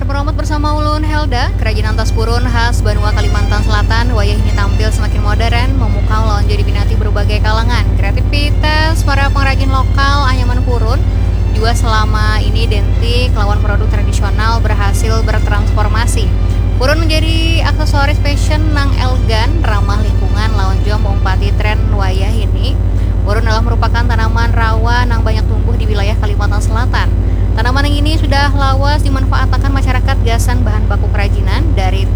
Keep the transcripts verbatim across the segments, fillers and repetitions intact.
Meromat bersama ulun Helda, kerajinan tas purun khas Banua Kalimantan Selatan wayah ini tampil semakin modern, memukau lawan jua diminati berbagai kalangan. Kreativitas para pengrajin lokal anyaman purun jua selama ini identik lawan produk tradisional berhasil bertransformasi. Purun menjadi aksesoris fashion nang elegan, ramah lingkungan, lawan jua meumpati tren wayah ini. Purun adalah merupakan tanaman rawa nang banyak tumbuh di wilayah Kalimantan Selatan. Tanaman yang ini sudah lawas dimanfaatakan masyarakat gasan bahan baku kerajinan dari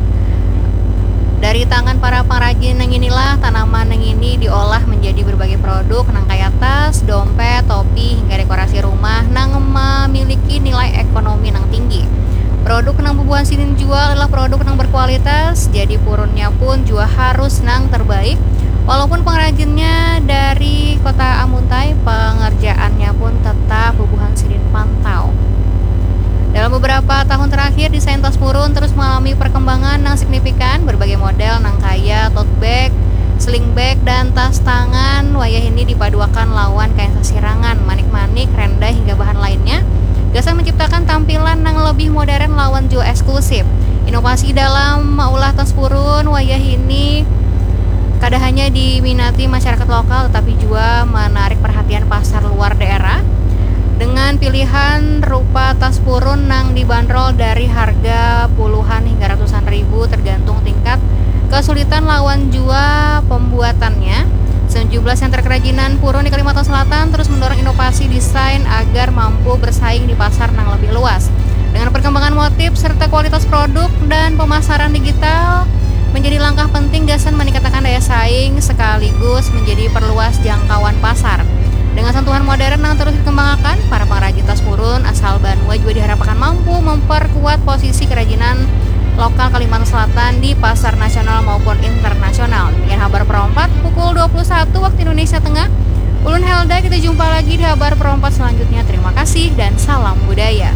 dari tangan para pengrajin yang inilah tanaman yang ini diolah menjadi berbagai produk nang kaya tas, dompet, topi, hingga dekorasi rumah nang memiliki nilai ekonomi nang tinggi. Produk nang bubuhan sidin jual adalah produk nang berkualitas, jadi purunnya pun jua harus nang terbaik. Walaupun pengrajinnya dari kota Amuntai, pengerjaannya pun tetap bubuhan sidin pantau. Dalam beberapa tahun terakhir, desain tas purun terus mengalami perkembangan yang signifikan. Berbagai model nang kaya tote bag, sling bag, dan tas tangan wayah ini dipaduakan lawan kain sasirangan, manik-manik, renda, hingga bahan lainnya. Gasan menciptakan tampilan yang lebih modern lawan jua eksklusif. Inovasi dalam maulah tas purun wayah ini kada hanya diminati masyarakat lokal tetapi juga menarik perhatian pasar luar daerah dengan pilihan rupa tas purun nang dibanderol dari harga puluhan hingga ratusan ribu tergantung tingkat kesulitan lawan jua pembuatannya. Sejumlah sentra kerajinan purun di Kalimantan Selatan terus mendorong inovasi desain agar mampu bersaing di pasar nang lebih luas. Dengan perkembangan motif serta kualitas produk dan pemasaran digital menjadi langkah penting gasan meningkatkan daya saing sekaligus menjadi perluas jangkauan pasar. Dengan sentuhan modern yang terus dikembangkan, para pengrajin tas purun asal Banua juga diharapkan mampu memperkuat posisi kerajinan lokal Kalimantan Selatan di pasar nasional maupun internasional. Demikian Habar Perompat pukul dua puluh satu waktu Indonesia Tengah. Ulun Helda, kita jumpa lagi di Habar Perompat selanjutnya. Terima kasih dan salam budaya.